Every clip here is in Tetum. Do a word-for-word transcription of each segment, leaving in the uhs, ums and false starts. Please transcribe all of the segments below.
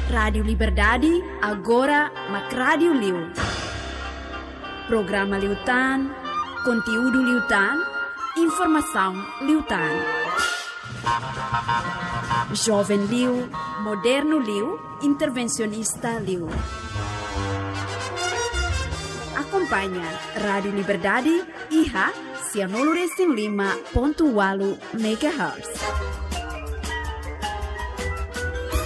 Rádiu Liberdade, agora mak rádiu liu. Programa liután, konteúdu liután, informasaun liután. Joven liu, modernu liu, intervensionista liu. Akompaña Rádiu Liberdade iha sianulu resin lima pontu ualu megahertz.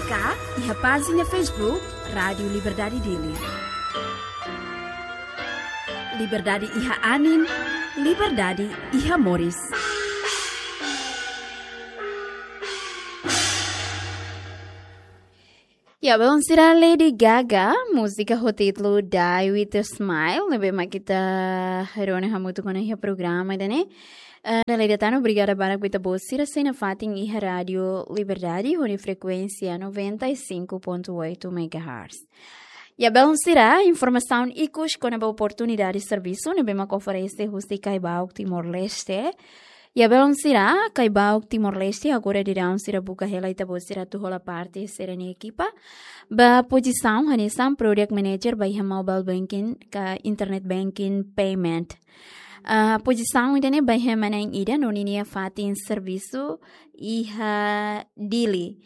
Ka iha pájina Facebook Rádiu Liberdade Dili. Liberdade iha anin, liberdade iha moris. Ya, belun sira, Lady Gaga, múzika ho títulu Die With A Smile, ne'ebé mak ita rona hamutuk ona iha programa ida-ne'e. Eh, Lady Tano, obrigada barak ba ita-boot sira sei nafatin iha Rádiu Liberdade, ho nia frekuénsia noventa e cinco ponto oito megahertz. Ya, belun sira, informasaun ikus kona-ba oportunidade servisu ne'ebé mak oferese husi Caibauk Timor-Leste. Ya, belun sira, Caibauk Timor-Leste agora daudaun sira buka hela ita-boot sira atu hola parte sira-nia ekipa ba pozisaun hanesan Product Manager ba iha Mobile Banking ka Internet Banking Payment. Ah, pozisaun ida-ne'e ba iha ema na'in ida no ninia fatin servisu iha Dili.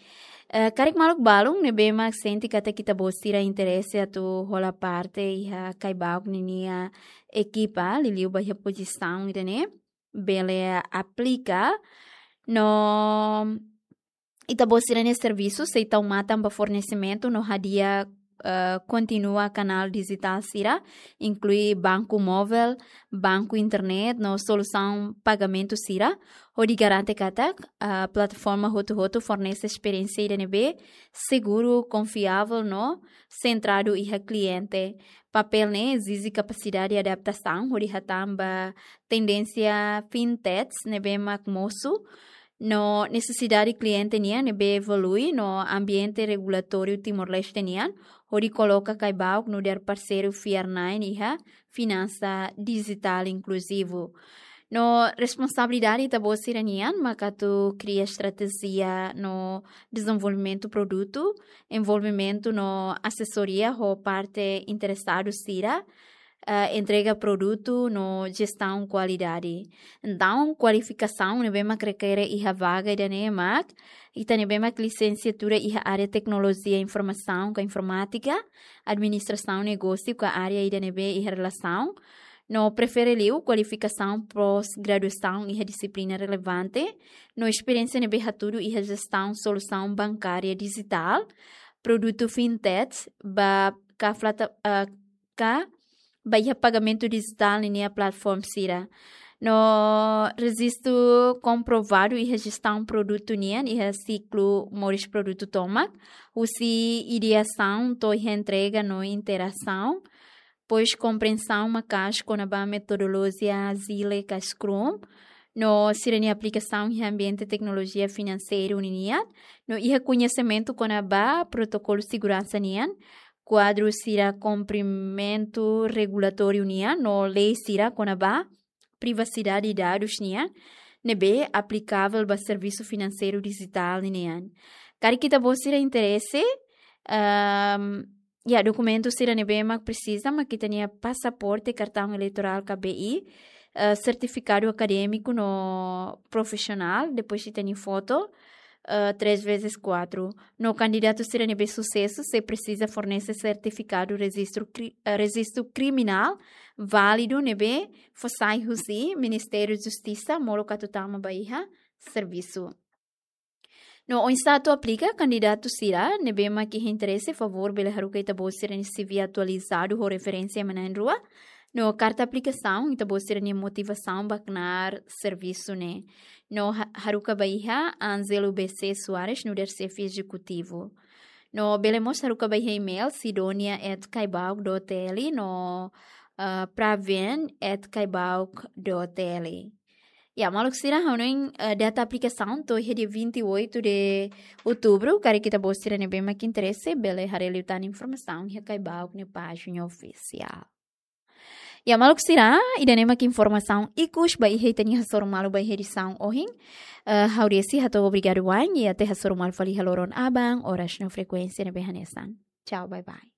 Eh, karik maluk balun ne'ebé mak sente katak ita-boot sira interese atu hola parte iha Caibauk ninia ekipa, liuliu ba iha pozisaun ida-ne'e, bele aplika no ita-boot sira-nia servisu sei tau matan ba fornesimentu no hadi'a, eh, kontinua kanál dijitál sira, inklui banku móvel, banku internet no solusaun pagamentu sira, hodi garante katak, eh, plataforma hotu-hotu fornese esperiénsia ida ne'ebé seguru, konfiavel no sentradu iha kliente. Papél ne'e ezije kapasidade adaptasaun hodi hatán ba tendénsia fintechs ne'ebé mak mosu no nesesidade kliente nian ne'ebé evolui no ambiente regulatóriu Timor-Leste nian, hodi koloka Caibauk nu'udar parseiru fiar-na'in iha finansa dijitál inkluzivu. No responsabilidade ita-boot sira-nian mak atu kria estratéjia no dezenvolvimentu produtu, envolvimentu no asesoria ho parte interesadu sira, eh, entrega produtu no jestaun kualidade. Entaun, kualifikasaun ne'ebé mak rekere iha vaga ida-ne'e mak ita ne'ebé mak lisensiatura iha área teknolojia informasaun ka informátika, administrasaun negósiu ka área ida ne'ebé iha relasaun, no prefere liu kualifikasaun pós-graduasaun iha dixiplina relevante, no esperiénsia ne'ebé hatudu iha jestaun solusaun bankária dijitál, produtu fintech, ba ka flata-, eh, ka ba iha pagamentu dijitál ninia plataforma sira. No rejistu komprovadu iha jestaun produtu nian iha siklu moris produtu tomak, husi ideasaun to'o iha entrega no interasaun, depois komprensaun maka'as kona-ba metodolojia Agile ka Scrum, no sira-nia aplikasaun iha ambiente teknolojia finanseiru ninian, no iha koñesimentu kona-ba protokolu seguransa nian, kuadru sira kumprimentu regulatóriu nian, no lei sira kona-ba privasidade dadus nian, ne'ebé aplikavel ba servisu finanseiru dijitál ninian. Karik ita-boot sira interese, ehm, ya, dokumentu sira ne'ebé mak presiza, mak ita-nia pasaporte, kartaun eleitorál ka B I, eh, sertifikadu akadémiku no profisionál, depois ita-nia foto, eh, três vezes quatro. No kandidatu sira ne'ebé susesu sei presiza fornese sertifikadu rejistu kri-, eh, rejistu kriminál válidu ne'ebé fó sai husi Ministériu Justisa molok atu tama ba iha servisu. No oinsá atu aplika? Kandidatu sira ne'ebé mak iha interese, favór bele haruka ita-boot sira-nia C V atualizadu ho referénsia ema na'in-rua. No karta aplikasaun, ita-boot sira-nia motivasaun ba knaar servisu ne'e. No ha-, haruka ba iha Ângelo B C Soares, nu'udar xefe ezekutivu. No bele mós haruka ba iha email sidonia at caibauk dot T L no, eh, praven at caibauk dot T L. Ya, maluk sira, ha'u hanoin, eh, data aplikasaun to'o iha dia vinte e oito de outubro, karik ita-boot sira ne'ebé mak interese, bele haree liután informasaun iha Caibauk nia pájina ofisiál. Ya, maluk sira, ida-ne'e mak informasaun ikus ba iha ita-nia hasoru malu ba iha edisaun ohin. Eh, ha'u Desi hato'o obrigadu wa'in, i até hasoru malu fali iha loron aban, oras no frekuénsia ne'ebé hanesan. Tchau, bye bye.